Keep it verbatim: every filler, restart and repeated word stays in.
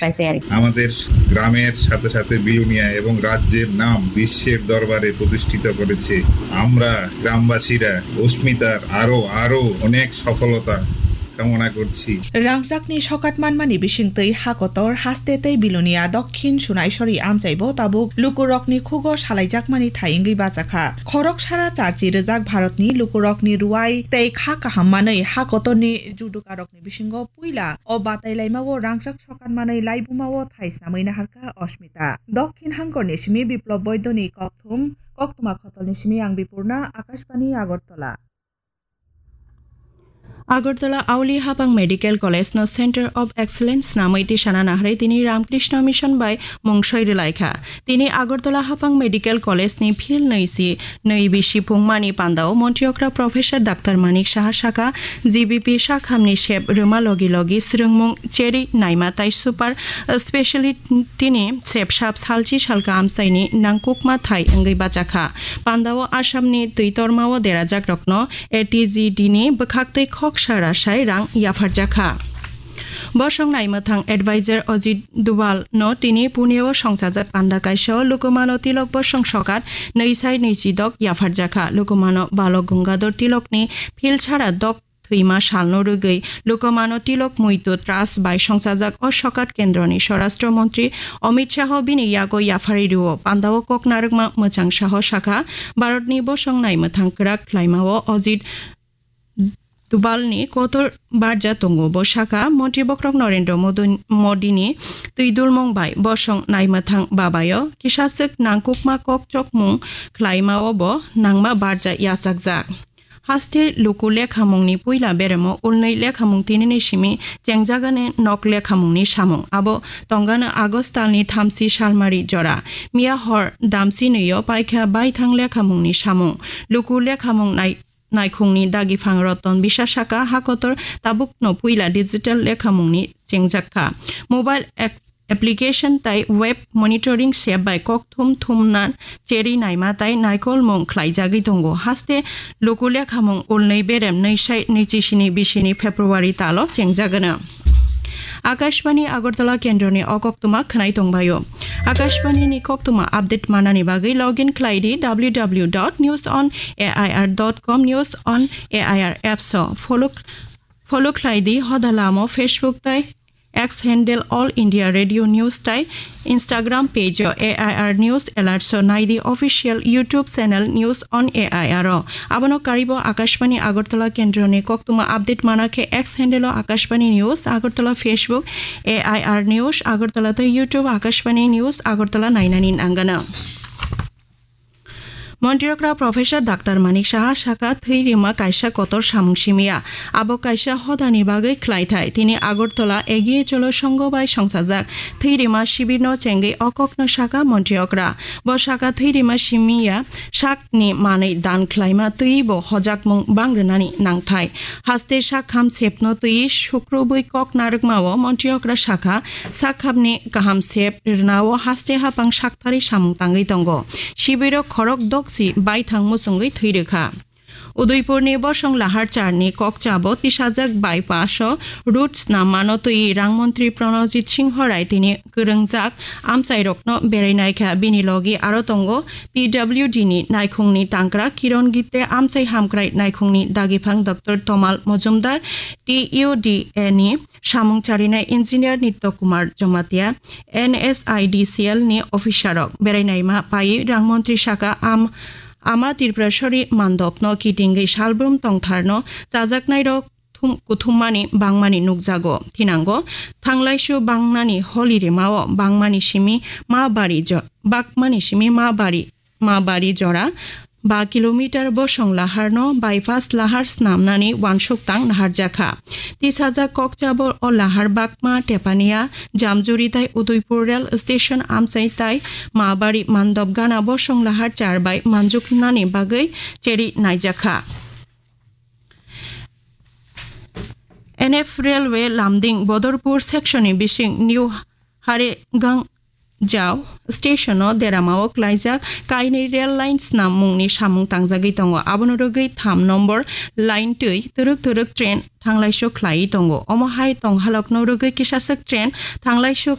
পাইছে আর কি। আমাদের গ্রামের সাথে সাথে বিলোনিয়া এবং রাজ্যের নাম বিশ্বের দরবারে প্রতিষ্ঠিত করেছে। আমরা গ্রামবাসীরা অস্মিতার আরো, আরো অনেক সফলতা কামনা করছি। Rangchakni sokat manmani bisingtwi ha kotor haste tei Bilonia Dokhin Sunaisori amchaibo tabuk lukurokni khugo salaijakmani thai wngwi bachakha. Khorok sara charchi rwjak Bharatni lukurokni ruwai tei kha kaham manwi ha kotorni judukarokni bisingo puila o batai laimao rangchak sokat manwi laibumao thai snamwi naharkha Osmita. Dokhin hangkorni simi Biplop Boidoni kokthum, koktwma khotolni simi ang Bipurna, Akashbani Agartala. Agartala Auli Hapang Medical College no Center of Excellence namwi tisana naharwi tini Ramkrishna Mission bai mung soi rwlaikha. Tini Agartala Hapang Medical College ni field nwi si nwi bisi pungmani pandao Montri okra Professor Doctor Manik Saha saka, G B P sakhamni sep rwma logi logi swrwngmung cheri naima tai super speciality ni sep sap salchi salka amchaini nangkukma thai wngwi bachakha. Pandao Assamni twi tormao derajak rokno A T G D ni bwkhaktwi khoksa rasai rang yapharjakha. Bosong naimwthang advisor Ajit Dubal no tini Pune o songchajak panda kaisa o Lokomano Tilok bosong sokat nwi sai nwi chi dok yapharjakha. Lokomano Balok Gangadhar Tilok ni philsara dok thwima salno rwgwi Lokomano Tilok Muitu Trust bai songchajak o sokat kendroni Swarashtra Montri Amit Shah bini yago yapharwi rwo. Pandao kok narwkma Mwchang Saho sakha, Bharatni bosong naimwthang kwrak khlaimao Ajit Dubalni kotor barja tongo. Bo saka, Montri bokrok Narendra Modu-, Modini twi dulmung bai bosong naimwthang babayo kisaswk nangkukma kok chokmung khlaimao bo nangma barja yachakjak. Haste luku lekhamungni puila beremo ulnwi lekhamung tinini simi chengjagani nok lekhamungni samung. Abo tongano August talni thamsi salmari jora. Miya hor damsi nwiyo paikha baithang lekhamungni samung. Luku lekhamung nai-, naikhungni dagiphang Roton Biswas saka hakotor tabukno puila digital lekhamungni chengjakha. Mobile ex-, application tai web monitoring sep bai kokthum thumna cheri naima tai naikolmung khlaijagwi tongo. Haste luku lekhamung ulnwi berem nwi sai nwi chi sini bisini February talo chengjagano. Akashbani Agartala kendroni o koktwma khwnai tongbaio. Akashbani ni koktwma update manani bagwi login khlai di W W W dot news on A I R dot com, News on A I R apps o follow, follow khlai di hoda lamo Facebook tai X handle All India Radio News tai Instagram page o A I R News Alerts o nai di official YouTube channel News on A I R o. Abono karibo Akashbani Agartala kendroni koktwma update mana khe X handle o Akashbani News Agartala, Facebook A I R News Agartala tei YouTube Akashbani News Agartala nainani nanggano. Montri okra Professor Doctor Manik Saha saka thwi rima kaisa kotor samung simiya. Abo kaisa hodani bagwi khlaithai. Tini Agartala Egiye Cholo Songho bai songchajak thwi rima shibirno chengwi o kokno saka Montri okra. Bo saka thwi rima simiya sakni manwi dan khlaima twibo hojakmung bang rwnani nangthai. Haste sakham sepno twi sukrubwi kok narwkmao Montri okra saka sakhamni kaham sep rwnao haste hapang saktharwi samung tangwi tongo. Sibirok khorok dokchi baithang muchungwi thwi rwkha. Udaipurni bosong lahar charni kokchabo tisajak bypass o route snam mano twi rang montri Pranojit Singho Rai tini kwrwngjak amchairokno berai naikha. Bini logi aro tongo P W D ni naikhungni tangkra Kiron Gitte, amchai hamkrai naikhungni dagiphang Doctor Tomal Mojumdar, T U D A ni samung charinai engineer Nitya Kumar Jamatia, N S I D C L ni officer rok berai naima pai rang montri saka am-, ama Tripurasori mandopno kitingwi salbrum tongtharno chajaknairok thum-, kuthummani bangmani nukjago. Thinango thanglaisu bangnani holi rimao bangmani simi ma bari jo-, bakmani simi ma bari ma bari jora ba kilometer bosong laharno bypass lahar snamnani wansuk tang naharjakha. Tisajak kokchabo o lahar bakma tepania Jamjuri tai Udaipur rail station amchai tai ma bari mandop gana bosong lahar char bai manjuknani bagwi cheri naijakha. N F Railway Lumding Bodorpur section ni bising New Haregang Jao station o deramao klaijak kainwi rail line snam mungni samung tangjagwi tongo. Abono rwgwi tham nombor line twi twrwk twrwk train thanglaisu khlaiwi tongo. Omo hai tonghalokno rwgwi kisaswk train thanglaisu